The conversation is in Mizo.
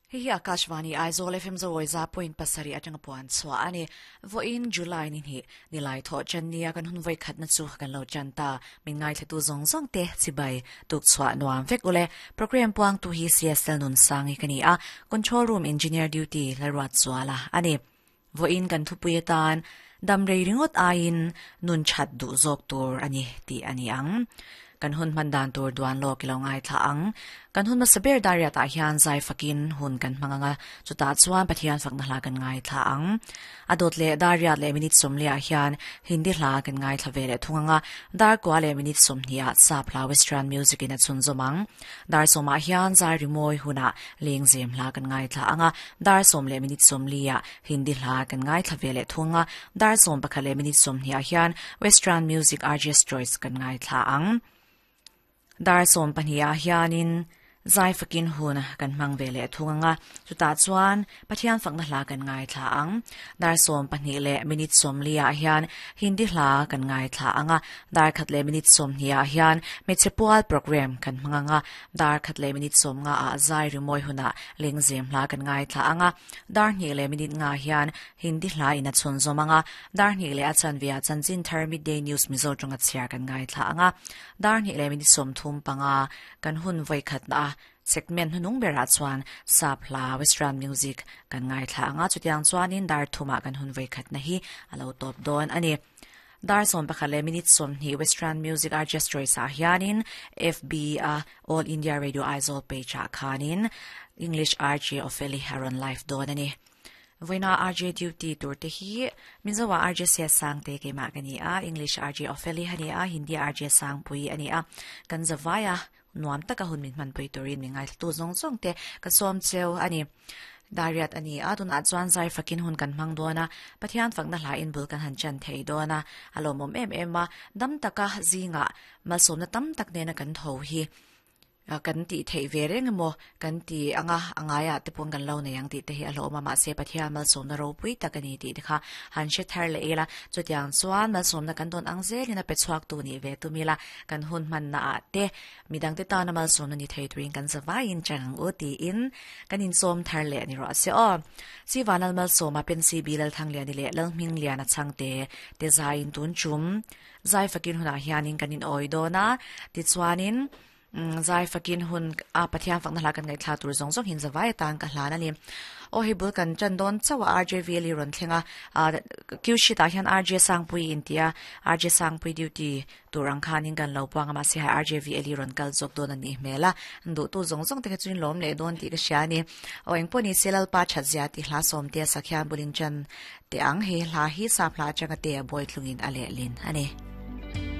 Hei hi Akashvani Aizawl FM Zawawi za point pasarih atanga puan chhuah a ni. Vawiin July ni hnih, Nilai thawh chan nia kan hun vawi khatna chu kan lo chan ta. Min ngaithlatu zawng zawng te chibai tuk chhuah nuam vek ule. Program puangtu hi CSL Nunsangi ka ni a, Control Room Engineer Duty Lalruatzuala a ni. Vawiin kan thupui atan damrei ringawt aiin nun that duh zawk tur a ni tih a ni ang. Kan hun hman dan tur duan lawk i lo ngaithla ang. Kan hun hmasa ber dariatah hian zai fakin hun kan hmang ang a, chutah chuan Pathian fakna hla kan ngaithla ang. A dawt leh dariat leh minute sawmliah hian Hindi hla kan ngaithla ve leh thung ang a, dar kua leh minute sawmhnih ah sap hla Western music in a chhunzawm ang. Dar sawmah hian zai rimawi hunah Lengzem hla kan ngaithla ang a, dar sawm leh minute sawmliah Hindi hla kan ngaithla ve leh thung a, dar sawm pakhat leh minute sawmhnih ah hian Western music RJ's Choice kan ngaithla ang. Dar sawm pahnih ah hianin zai fakin hun kan hmang ve leh thung ang a, chutah chuan Pathian fakna hla kan ngaithla ang. Dar sawm pahnih leh minute sawmliah hian Hindi hla kan ngaithla ang a, dar khat leh minute sawmhnih ah hian hmeichhe pual program kan hmang ang a, Dar khat leh minute sawm nga ah zai rimawi hunah lengzem hla kan ngaithla ang a, dar hnih leh minute nga hian Hindi hla in a chhun zawm ang a, dar hnih leh a chanve ah chanchin thar Midday News Mizo tawnga chhiar kan ngaithla ang a, dar hnih leh minute sawmthum panga kan hun vawi khatna a segment hnunung berah chuan sap hla Western music kan ngaithla ang a, chutiang chuanin dar thumah kan hun vawi khatna hi a lo tawp dawn a ni. Dar sawm pakhat leh minute sawmhnih Western Music Artist Choice ah hianin FB a All India Radio Aizawl page ah khanin English RJ Opheli a rawn live dawn a ni. Vawiina RJ duty tur te hi Mizo ah RJ Sia Sangte keimah ka ni a, English RJ Opheli a ni a, Hindi RJ Sangpui a ni a. Kan zavai a, nuam taka hun min hmanpui turin mi ngaithlatu zawng zawng te ka sawm cheu a ni. Dariat a ni a, tunah chuan zai fakin hun kan hmang dawn a, Pathian fakna hla in bul kan han chan thei dawn a, a lawmawm em em a, dam taka zingah malsawmna tam tak nena kan tho hi kan tih theih ve reng emaw kan ti anga a ngaiah te pawn kan lo nei ang tih te hi a hlawm a, mahse Pathian malsawmna ropui tak a ni tih te kha han hre thar leh ila, chutiang chuan malsawmna kan dawn ang zelin a pe chhuak tu nih ve tum ila, kan hun hmanna ah te Midangte tana malsawmna ni thei turin kan zavaiin chang ang u tiin kan insawm thar leh a ni rawh se aw. Sivanal Malsawma Pensi Bi Lalthangliani leh Lalhmingliana chhangte te zaiin tun chum zai fakin hunah hianin kan inawi dawn a, tichuanin zai fakin hun a Pathian fakna hla kan ngaihthla tur zawng zawng hian zavai atan ka hlan a ni. Aw hei bul kan tan dawn chauh a RJV li rawn thleng a, Q sheet ah hian RJ Sangpui intia RJ Sangpui duty Tur ang khanin kan lo puang a, mahse hai RJVL hi rawn kal zawk dawn a nih hmel a, duhtu zawng zawng te kha chuan lawm leh dawn tih ka hria a ni. Aw engpawh ni se Lalpa that zia tih hla sawmte a sak hian bulin chan teh ang, he hla hi sap hla atanga te a bawi tlungin a lehlin a ni.